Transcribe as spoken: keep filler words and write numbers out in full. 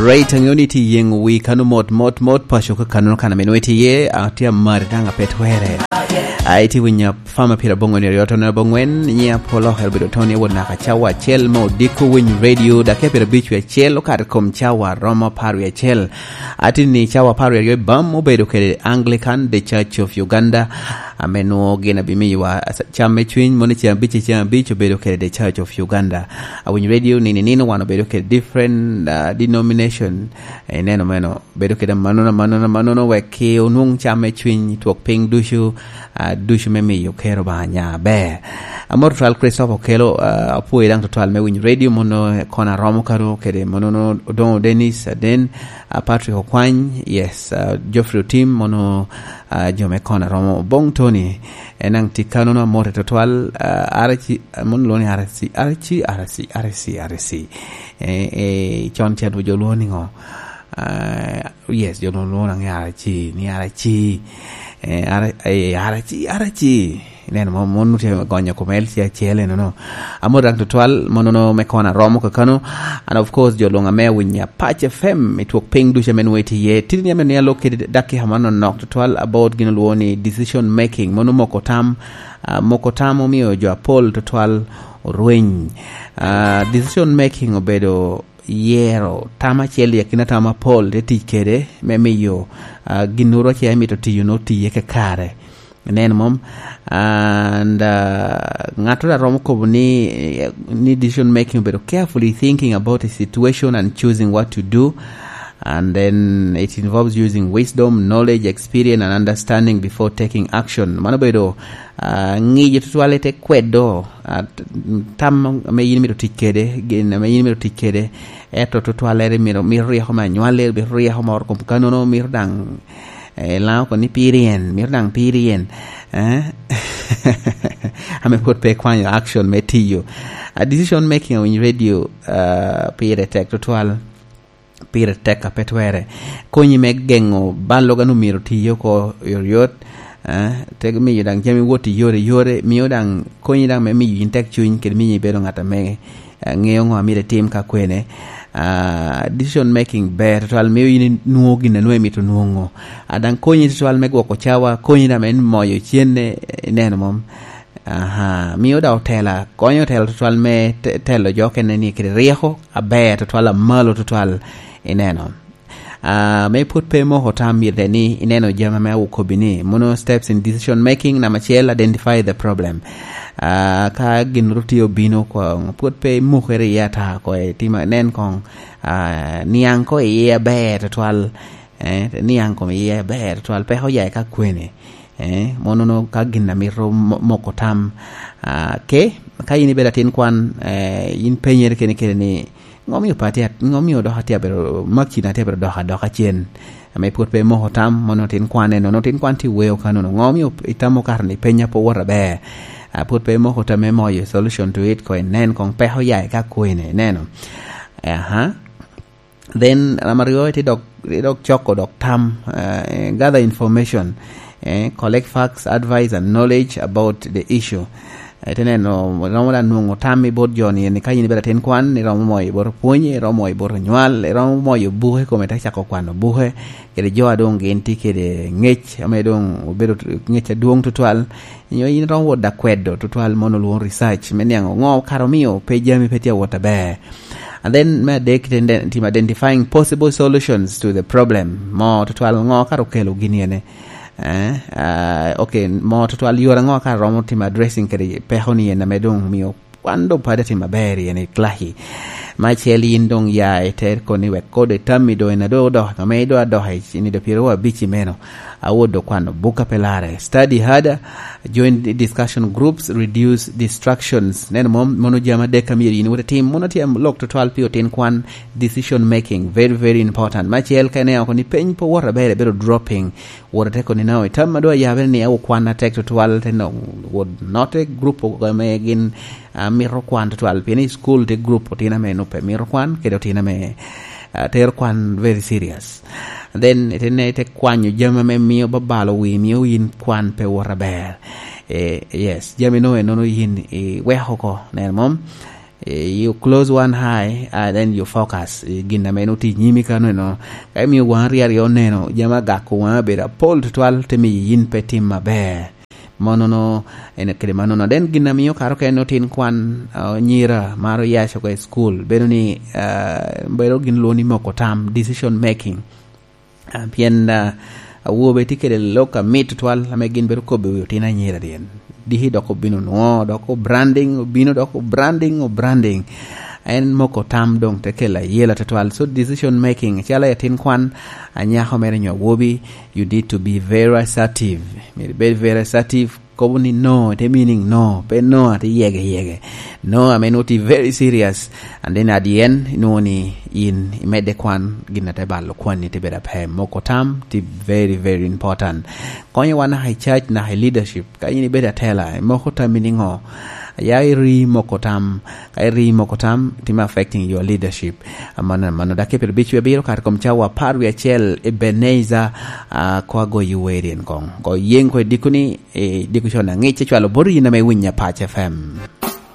Right, angeo ni ti yeng wi kano mot, mot, mot, paco ka kano kan ameno iti ye, a ti amari dang a pe twere. A iti winya fama pira bongo ni ryo tono bongwen, nyi apolo hel bedo toni won naka cawa acel mo diko winy radio, dake pira bic wi acel, okato kom cawa romo par wi acel. Ati ni cawa par wi aryo bam obedo kede Anglican, The Church of Uganda, ame nwo gin abimiwa cam me cwiny, moni cam abic, cam abic obedo kede The Church of Uganda. Awinyo radio nini nino wan obedo kede different, uh, denomination. Ineno meno, bedo kede manono, manono, manono, wek ki onwong cam me cwiny twok piny ducu, uh, ducu me miyo kero ba nya aber. Amor twal Christopher Okelo, uh, apwoyo dang twal me winyo radio mono kon aromo karo kede mono Odongo Dennis Aden, uh, Patrick Okwany, yes, uh, Geoffrey Otim, mono, uh, jo me kon aromo Bong Tony, en ang ti kanono amor twal, uh, araci, uh, mono loni araci, araci, araci, araci, araci. Eh, eh, con cen jo lwongo ni ngo? Ah, yes, jo lwongo ni araci, ni araci. Eh, ara-, eh, araci, araci. Neno, mo-, mon tye gonyo kom L C acel enono. Amor dang tutwal, monono me kona romo kakano. And of course, jo lwongo ame awinya Pac F M, i twok piny ducu ame nwo itye iye. Titini ame ni alok kede dakika manonok tutwal about gin olwongo ni decision making. Mono moko tam, ah, moko tam omio jo apol tutwal orweny. Ah, decision making obedo yero tam acel i akina tam apol te tic kede me miyo, ah, ginnoro ace emito tiyo no tiye kakare. Ineno mom? And, ah, ŋattoro a romo kobo ni, ni decision making obedo carefully thinking about a situation and choosing what to do. And then it involves using wisdom, knowledge, experience, and understanding before taking action. Mano obedo, ah, ŋiyo tutwal i te kwedo, ah, t-, tam ame yin imito tic kede, gin ame yin imito tic kede, ento tutwallere mito, mito ryeko me anywalli, mito ryeko moro kom kanono, mito daŋ, eh, Laŋo kono ni piri en, mito daŋ piri en, eh? Ame pwod pe ikwanyo action me tiyo. A decision making awiny radio, ah, pire tek tutwal. Pire tek a pe twere. Konyi me geŋo balloga-nu myero tiye oko oyotoyot, eh, te miyo daŋ jami wot i yore yore, mio daŋ konyi daŋ me miyo yin tek cuny, kede miyo ibedo ŋat ame, eh, ŋeo ŋo a myero itim ka kwene. Ah, decision making ber tutwal, mio yin inwoŋo gin a nwoŋo imito nwoŋo. A daŋ konyi tutwal me gwoko cawa, konyi daŋ me moyo cene, ineno mom? Aha, mio daŋ otela, konyo otela tutwal me te-, telo jo okene ni kede ryeko aber tutwal, amalo tutwal, ineno. Ah, me pwod pe imoko tam, myero ni ineno jami ame akobi ni, mono steps in decision making. Number acel, identify the problem. Ah, ka gin ru tye obino koŋ, pwod pe imokere iye ata koŋ, itima, nen koŋ, ah, niaŋ koŋ iye aber tutwal, eh, niaŋ koŋ iye aber tutwal, peko oya i ka kwene. Eh, mono no ka gin a mito mo-, moko tam, ah, ke, ka yin ibedo atin kwan, eh, yin penyere kene kene ni, "Ŋo mio pe atye at-, ŋo mio dok atye abedo, makina atye abedo dok adoka cen?" Ame pwod pe imoko tam, mono tin kwan eno, no tin kwan tye weo kanono. "Ŋo mio itamo kare ni penya pe wot aber?" Ah, pwod pe imoko tam me moyo solution to it, ko inen koŋ peko ya i ka kwene, ineno. Aha. Then, number aryo, ite dok, ite dok coko dok tam, eh, gather information, eh, collect facts, advice and knowledge about the issue. Eh, ite neno, romo da nwoŋo tam i bot jo ni, ni ka yin ibedo atin kwan, iromo moyo i bot opwonye, iromo moyo i bot onywal, iromo moyo buke kome te cako kwano buke, kede jo a doŋ gin tye kede ŋec, ame doŋ obedo ŋec adwoŋ tutwal, nyo yin iromo wot da kwedo tutwal mono lwongo research, me niaŋ ŋo kara omio pe jami pe tye awot aber. And then me adek, ite inde-, timo identifying possible solutions to the problem. Mo tutwal ŋo kara okelo gini ene? Eh, ah, okay, mo tutwal yore ŋo kara romo timo addressing kede peko ni en ame doŋ omio kwan doŋ pwod atimo aber i en i Klahi. Me acel yin doŋ ya i te koni wek kodi tammi doŋ en a doŋ odok, ame doŋ adok i nino pyeraryo abic i meno. Awot doŋ kwano buk a pe larre. Study harder, join the discussion groups, reduce distractions. Neno mom, mono jami adek a myero yin iwot itim. Mono tye lok tutwal pi otin kwan, decision making, very, very important. Me acel ka ineno koni peny pe wot aber, ibedo dropping. Wot ite koni na, itam a doŋ ayabere ni awo kwan atek tutwal, te no, wot note group ame gin, ah, mito kwan tutwal, pien i school tye group otino ame nwoŋo pe mito kwan, kede otino ame, ah, tero kwan very serious. Then, ite ne, ite kwanyo jami ame mio babalo wi, mio yin kwan pe wot aber. Eh, yes, jami no enono yin iweko oko, neno mom? Eh, you close one eye, and then you focus. Eh, gin ame en otye i nyimi kano eno. Ka imiyo waŋ aryo aryo oneno, jami agako waŋ abedo apol tutwal, te miyo yin pe tim maber. Monono, en kede manono. Then gin ame miyo karo ka en otin kwan, ah, nyira maro yac oko i school, bedo ni, ah, bedo gin lwongo ni moko tam, decision making. Ah, pien, ah, awobe tye kede lok amit tutwal ame gin bedo kobbe wi otino anyira dien. Diki dok obino nwo, dok obranding, obino dok obranding, obranding. En moko tam doŋ te kelo ayela tutwal. So decision making, calo atin kwan, anyako mere nyo awobi, you need to be very assertive. Myero ibed very assertive. Kobo ni no, te meaning no, pe no, ate yege yege. No, ame nwoŋo tye very serious. And then at the end, inwoŋo ni in imedde kwan, gin ate balo kwanni te bedo ape. Moko tam, tye very, very important. Konyo wan naka i church, naka i leadership. Ka in ibedo atela, imoko tammi niŋo? Ya iri moko tam. Ka iri moko tam, tye affecting your leadership. Amano, amano, dakika pyerabicwi abiro kare kom cawa apar wie acel, Ebenezer, ah, ko agoyo wer en koŋ. Ko yeng ko i diko ni, i diko con aŋic, icwalo bot yin ame winyo Apac F M.